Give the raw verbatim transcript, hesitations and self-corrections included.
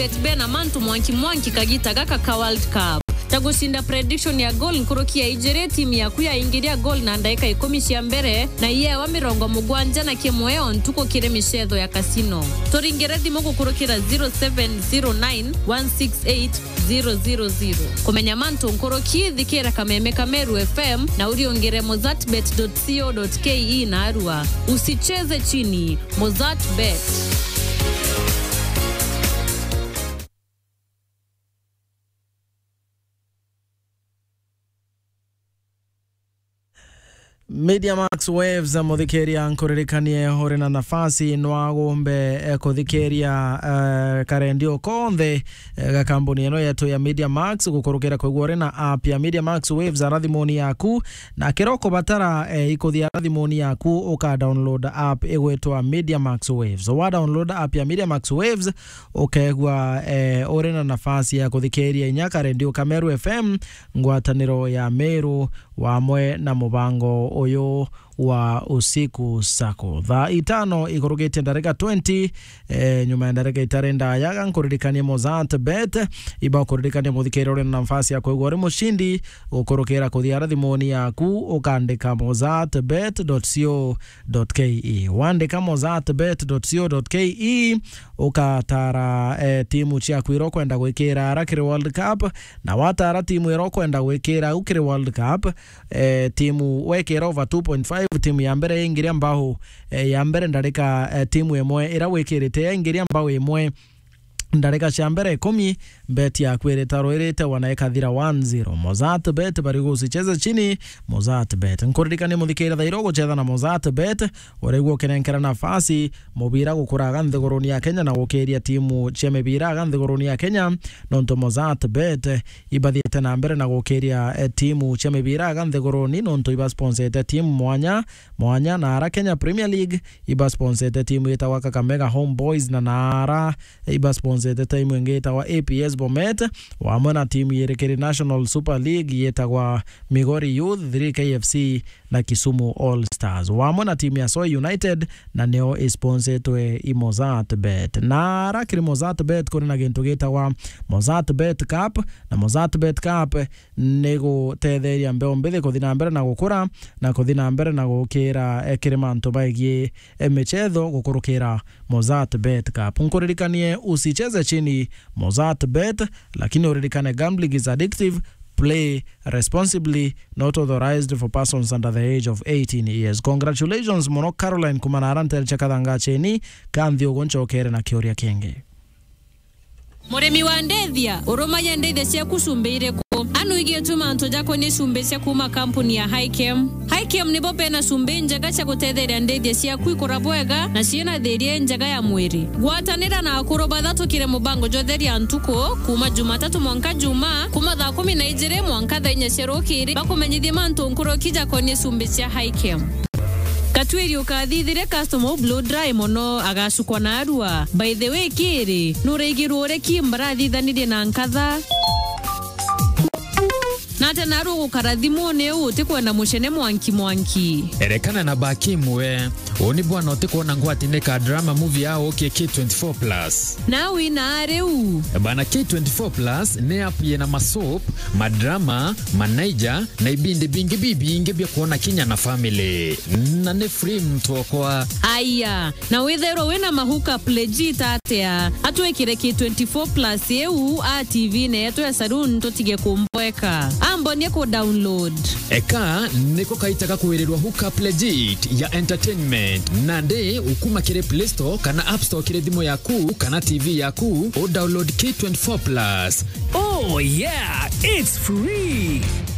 Bet bena mantu mwanki mwanki kagita gaka ka World Cup. Ta gucinda prediction ya goal nkuruki ya ijiri, timu yaku yaingiria goal na ndaika ikumi cia mbere, na iyewa mirongo mugwanja na kimwe o ntuku kiri micetho ya casino. Turingire thimu gukurukira zero seven zero nine one six eight zero zero zero. Kumenya mantu nkuruki, thikira kameme ka Meru F M na uriungire mozartbet dot co dot K E na arua. Usicheze chini, Mozartbet. Media Max Waves, muthikiria, nkuririkanie uri na nafasi no agumbe, eh, kuthikiria, eh, karendio konthe, eh, ga kambuni ino yetu ya Media Max, gukurukira kwigua uri na app ya Media Max Waves ara thimuni yaku, na kira ukubatara, eh, ikuthia ara thimuni yaku, uka download app igwitwa Media Max Waves. Wa download app ya Media Max Waves, ukeegua, eh, uri na nafasi ya kuthikiria inya karendio ka Meru F M, ngwataniro ya Meru, wamwe na mubango uyu wa Usiku Sacco. Thaa itano ikurukitie ndarika twenty, eh, nyuma ya ndarika itari ndaya, ga nkuririkanie Mozartbet, iba kuririkania muthikiria uri na nafasi ya kwigua uri mucindi, gukurukira kuthia ara thimuni yaku, ukandika mozartbet dot co dot K E. Wandika mozartbet dot co dot K E, ukatara, eh, timu ciaku iria ukwenda gwikira ara kiri World Cup, na watara timu iria ukwenda gwikira au kiri World Cup, eh, timu wekira over two point five, timu ya mbere yaingiria mbao, eh, ya mbere ndarika, eh, timu imwe iria wikirite yaingiria mbao imwe, ndarika cia mbere ikumi, bet yaku iritarwirite wana ikathira one zero. Mozartbet bari gusicheze chini, Mozartbet. Nkuririkanie muthikiria thaira uguchetha na Mozartbet, urigua ukinenkera nafasi mubira gukuraga nthiguruni ya Kenya na gukiria timu cia mibira aga nthiguruni ya Kenya, nontu Mozartbet ibathiite na mbere na gukiria, eh, timu cia mibira aga nthiguruni, nontu ibasponsete timu mwanya mwanya, na ara Kenya Premier League ibasponsete timu yitagwa Kakamega Homeboys, na naara ibasponsete timu ingi yitagwa A P S Bomet, wamwe na timu yiri kiri National Super League yitagwa Migori Youth, three K F C na Kisumu All Stars, wamwe na timu ya Soi United, na nio isponsetwe i Mozartbet. Na ara kiri Mozartbet kuri na gintu gitagwa Mozartbet Cup, na Mozartbet Cup ni gutetheria mbeu mbithi kuthi na mbere na gukura, na kuthi na mbere na gukira, eh, kiri mantu baigii, eh, michetho gukurukira Mozartbet Cup. Nkuririkanie, usicheze chini, Mozartbet, lakini uririkane, gambling is addictive. Play responsibly, not authorized for persons under the age of eighteen years. Congratulations mono Caroline kuma na ara ntere cia Kathanga Cheni, ka nthi ugu ncokere na kiuria kingi. Murimi wa ndithia, urumagia ndithia ciaku cumbi iriku? Anu igitwe mantu jakonie cumbi cia kuma kampuni ya Hikem. Hikem nibo bena cumbi njega cia gutetheria ndithia ciaku ikura bwega na ciina thiria injega ya mwiri. Gwatanira na akuru bathatu kiri mubango jwa Theria Ntuku, kuma Jumatatu mwanka Juma, kuma thaa kumi na ijiri mwanka thaa inya cia rukiri, bakumenyithie mantu nkuruki jakonie cumbi cia Hikem. Gatwiri ukathithire customer u blow dry mono, agacukwa na arua. By the way, kiri, nuraigirwe uri ki mbarathithanirie na nkatha? Na ata naru ugukara thimuni u utikwenda mucene mwanki mwanki? Erekana na baki imwe. Uu ni bwana utikwona ngwatine ka drama movie ya ukie K twenty-four plus. Na wina riu? Bana, K twenty-four plus ni app yina masoap, madrama, manaija, na ibindi bingi bibingi bia kwona kinya na family. Na ni free mtu okwa. Aya, na withairwa wina ma hookup legit atia? Atwikire K twenty-four plus iu a T V-ini yetu ya saloon tutige kumboeka. Ambonie ku download. Eka niko kaita ga kwirirwa hookup legit ya entertainment. Nandi ukuma kiri Play Store kana App Store kiri thimu yaku kana T V yaku, u download K twenty-four plus. Oh yeah, it's free.